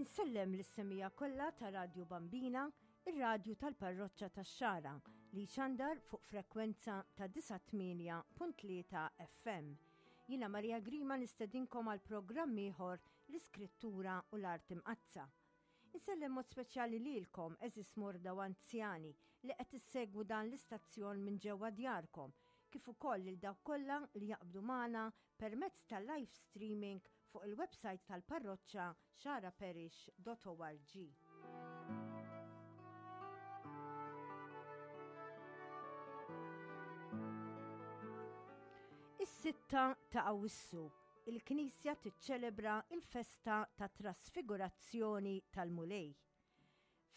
Insellem lis-semija kollha ta' Radju Bambina, ir-radju tal-Parroċċa tax-Xagħra li jxandar fuq frekwenza ta' 98.3 FM. Jiena Maria Grima nistedinkom għal programm ieħor l-Iskrittura u l-Art Imqaddsa. Insellem mod speċjali lilkom, għeżież morda u anzjani li qed issegwu dan l-istazzjon minn ġewwa djarkom, kif ukoll lil dawk kollha li jaqbdu magħna permezz ta' live streaming fuq il-website tal-parroċċa xaraparish.org. Is-sitta ta' Awwissu il-Knisja tiċċelebra l-festa tat-Trasfigurazzjoni tal-Mulej.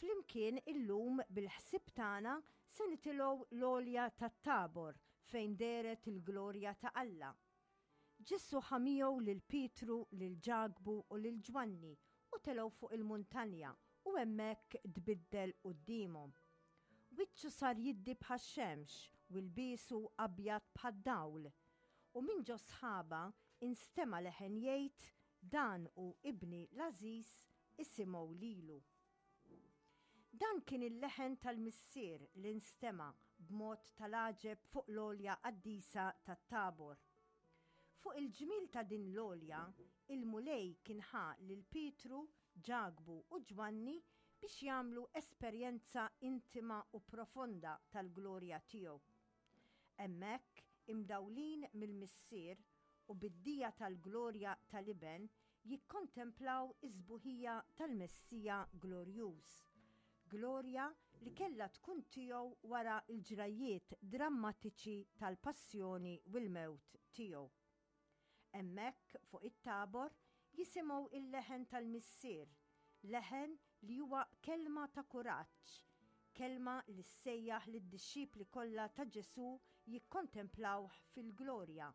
Flimkien illum bil-ħsieb tagħna se nitilgħu l-għolja tat-Tabor fejn dehret il-glorja ta' Alla. Ġesù ħa miegħu lil Pietru, lil Ġakbu u lil Ġwanni u telgħu fuq il-muntanja u hemmhekk tbiddel quddiemhom. Wiċċu sar jiddi bħax-xemx u lbiesu abjad bħad-dawl. U minn ġo sħaba instema' leħen jgħid, Dan hu Ibni l-għażiż, isimgħu lilu. Dan kien il-leħen tal-Missier li nstema' b'mod tal-għaġeb fuq l-għolja qaddisa tat-Tabor. Fuq il-ġmiel ta' din l-għolja, il-Mulej kien ħa lil Pietru, Ġakbu u Ġwanni biex jagħmlu esperjenza intima u profonda tal-glorja tiegħu. Hemmhekk, imdawlin mill-Missier u bid-dija tal-glorja tal-Iben, jikkontemplaw is-sbuħija tal-Messija glorjuż, glorja li kellha tkun tiegħu wara l-ġrajjiet drammatiċi tal-passjoni u l-mewt tiegħu. Hemmhekk fuq it-Tabor jisimgħu l-leħen tal-Missier, leħen li huwa kelma ta' kuraġġ, kelma li ssejjaħ lid-dixxipli kollha ta' Ġesù jikkontemplawh fil-glorja.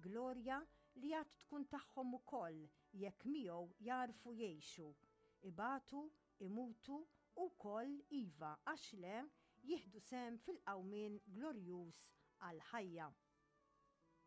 Glorja li għad tkun tagħhom ukoll jekk miegħu jagħrfu jgħixu, ibatu, imutu u wkoll, iva, għax le, jieħdu sehem fil-qawmien glorjuż għall-ħajja.